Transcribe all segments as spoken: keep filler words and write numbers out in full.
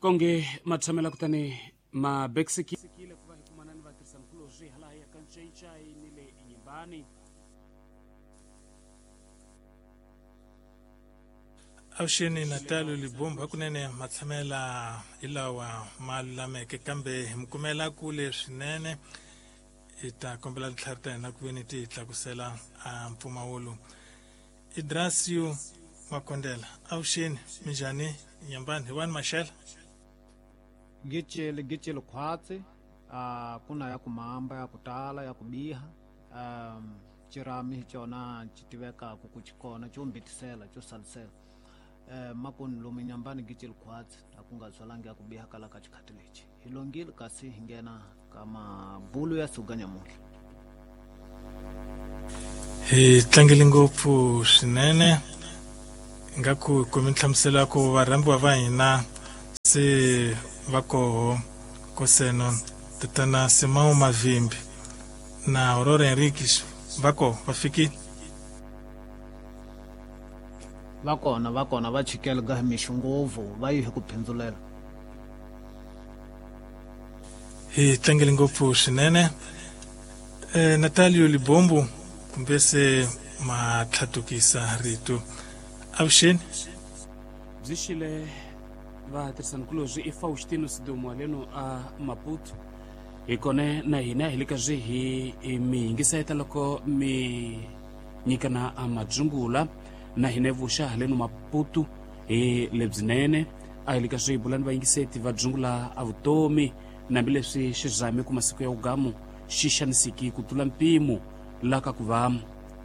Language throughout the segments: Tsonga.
Konge matshamela kutani mabeksekile ku va hi kumana ni vatirhisankulorhi hala ya ka Ncayincayi ni le Nyimbani. Avuxeni Natalio Libombo, hakunene matshamela hi lawa ma lulameke, kambe hi mi kumela kule swinene. Hi ta kombela tintlhari ta hina ku ve ni ti hi tlakusela a mpfumawulo. Idrasio Makondela, avuxeni, minjhani? Nyambani hi wani Maxela? Gicile gicile khwatsi, uh, kuna ya kumamba ya kutala ya kubiha, um, cirami hi cona ci tivekaku ku xikona xo mbitisela xo salisela. Eh, makoni lomu Nyambani gicile khwatsi a ku nga byalanga ya ku biha kala ka xikhati lexi. Hi longile kasi hi nghena ka mabulu ya suka nyamuntlha. Hi tlangele ngopfu swinene nga ku kumi nhlamuselo ya ku varhambiwa va hina se va koho koseno tatana Simão Mavimbi na Aurora Henriques va koho, va fikile? Va kona, va kona, va chikele ga mixo ngopfu, va yi hi ku phendzulela. Hi tlangele ngopfu swinene. Eh, Natalio Libombo, kumbe se ma tlhatukisa rito. Avuxeni. Byi xile vatirhisankulorhi i Faustino Sidumo leno a Maputo. Hi kone na hina hi le ka swi hi mi yingiseta loko mi nyikana a madzungula na hina vuxa haleno Maputo hi lebyinene. A hi le ka swi bulani vayingiseti va dzungula a vutomi nambileswi xirhami ku masiku ya ugamu xi xanisiki ku tlula mpimo la ka ku va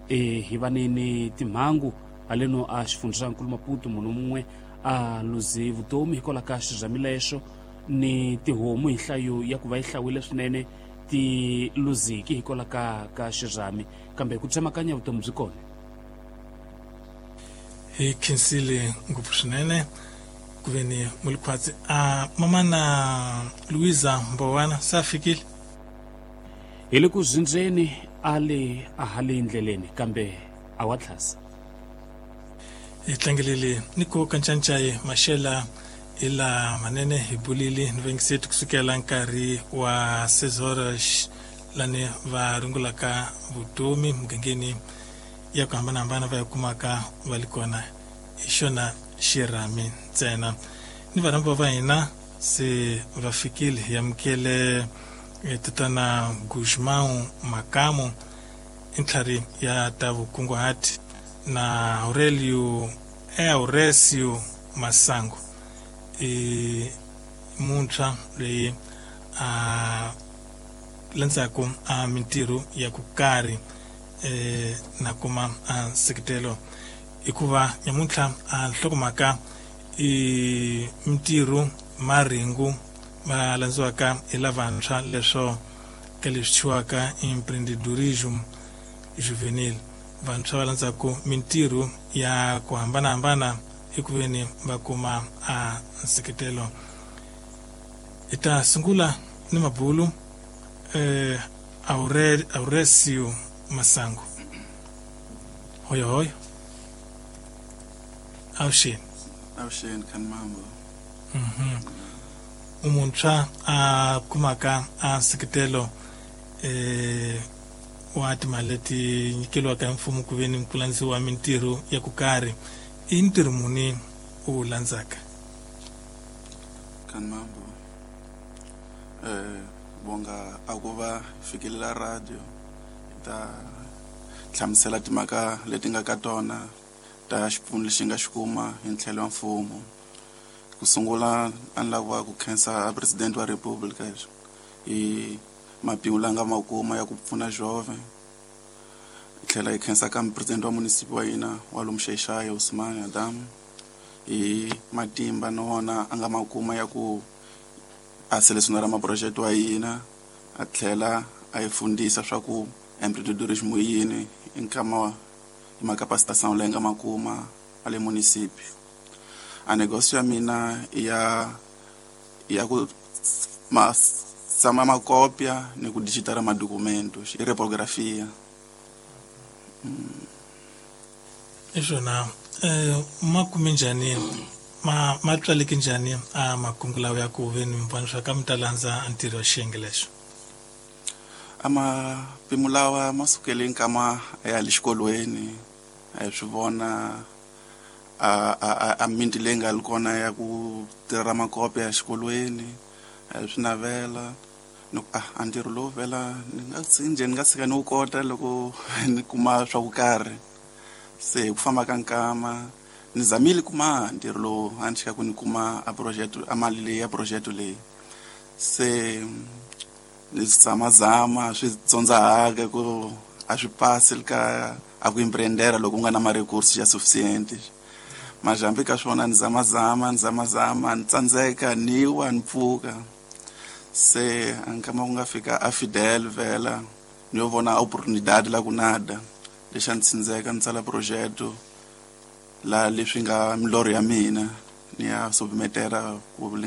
e hi va ni ni timhangu haleno a xifundzankulu Maputo. Munhu mun'we a luze vutomi hikwalaho ka xirhami lexo ni tihomu hi nhlayo ya ku va yi hlawile swinene ti luziki hikwalaho ka ka xirhami, kambe ku tsemakanya vutomi byi kona. Hi khensile ngopfu swinene ku ve ni mulikhwatsi. A mamana Luisa Mbowana se a fikile? Hi le ku zindzeni a le a ha le ndleleni kambe a wa tlhasa. Hi tlangelele ni ku kancancayi Maxela hi la manene hi bulile ni vengiseti kusukela nkarhi wa seis horas lani va rungulaka vutomi mugangeni ya ku hambanahambana va ya kumaka va li kona hi xona xirhami ntsena. Ni varhambiwa va hina se va fikile. Hi amukele tatana Gusmão Makamu, i ntlhari ya ta vukunguhati, na Aurelio Auresio Masango, i muntshwa loyi a landzaku a mintirho ya ku karhi eh, na kuma a nseketelo. Hikuva nyamuntlha a nhlokomhaka i mintirho maringu ma landziwaka hi lavantshwa leswo ka leswi thyiwaka empreendedorismo juvenil. Vantshwa va landzaku mintirho ya ku hambanahambana eku veni va kuma a nseketelo. Hi ta sungula ni mabulu eh, Aure, Auresio Masango. Hoyo hoyo. Avuxeni. Avuxeni Khanimambo. Mhm. Umuntshwa a kumaka a nseketelo eh wa timali leti nyikeliwaka hi mfumo ku ve ni ku landziwa mintirho ya ku karhi. I ntirho muni u wu landzaka? Khanimambo, eh bonga a ku va fikelela radio hi ta hlamusela timhaka leti nga ka tona ta xipfuno lexi nga xi kuma hi ntlhelo wa mfumo. Ku sungula a ni lava ku khensa president wa Republika hi mapingu la nga ma kuma ya ku pfuna jove. Hi tlhela hi khensa ka president wa munisipi wa hina wa lomu Xaixai Usman Adam hi matimba na wona a nga ma kuma ya ku a selesionara maproject wa hina, a tlhela a hi fundisa swa ku empreendedorismo yini hi nkama hi macapacitation leyi nga ma kuma a le munisipi. A negócio ya mina ya ya ku ma tsama makopya ni ku digitara madocumentos i repografia. Iswona eh ma kume njhani Ma ma tswaleke njhani a makungu lawa ya ku ve ni mi vona swa ka mi ta landza ntirho wa xiyenge lexo? A mapimo lawa ma sukele nkama ya le xikolweni, a hi swi vona a a a minti leyi nga li kona ya ku tirha makope ya xikolweni, a hi swi navela ni ku ah a ntirho lowu vhela ni nga njhe ni nga tshika ni wu kota loko ni kuma swa ku karhi. Se hi ku famba ka nkama ni zamile kuma ntirho lowu a ni chika ku ni kuma a project a mali leyi ya project leyi. Se ni zamazama swi tsondzahaka ku a swi pasi ka a ku empreendera loko u nga na ma-recourse ya suficiente. Majambi ka swona ni zamazama ni zamazama ni tsandzeka ni wa ni pfuka. Se a nkama ku nga fika a Fidel vhela ni yo vona oportunidade la ku nada lexi a ni tsindzeka ni tsala project la leswi nga milorho ya mina ni ya submetera ku